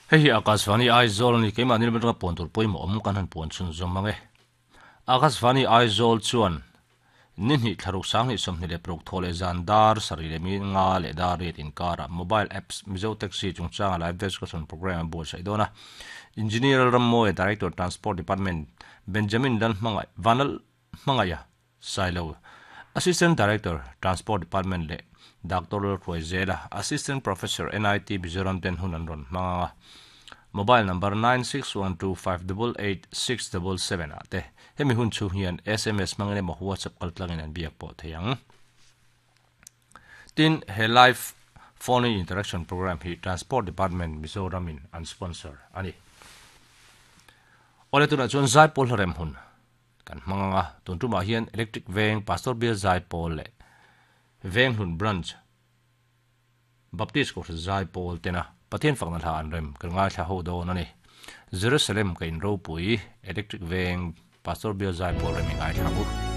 Hei hi Akashvani Aizawl a ni, keimahni lam atanga puan tur pawimawh awm kan han puan chhunzawm ang e. Akashvani Aizawl chuan ni hnih thlaruk 2026 thaw leh zan dar sarih leh mi nga leh dar riat inkarah mobile apps Mizo Taxi chungchanga live discussion programme a buatsaih dawn a. Engineer Lalrammawia, Director Transport Department Benjamin Lalhmangaih Vanlalhmangaiha Sailo, Assistant Director, Transport Department leh Doctor Lalhruaizela, Assistant Professor, NIT Mizoram ten hun an rawn hmang ang a. Mobile number 9612588677 ah te hemi hun chhung hian sms hmangin emaw WhatsApp kaltlangin an biak pawh thei ang. Tin, he live phone-in interaction programme hi Transport Department Mizoram in an sponsor a ni. Awle tunah chuan Zaipawl hlarem hun. Kan hmang ang a, tun tumah hian Electric Veng Pastor Bial Zaipawl leh Venghlun Branch Baptist Kohhran Zaipawl tena Pathian fakna hla an rem kan ngaithla ho dawn a ni. Jerusalem ka in ropui Electric Veng Pastor Bial Zaipawl rem i ngaithla ang u.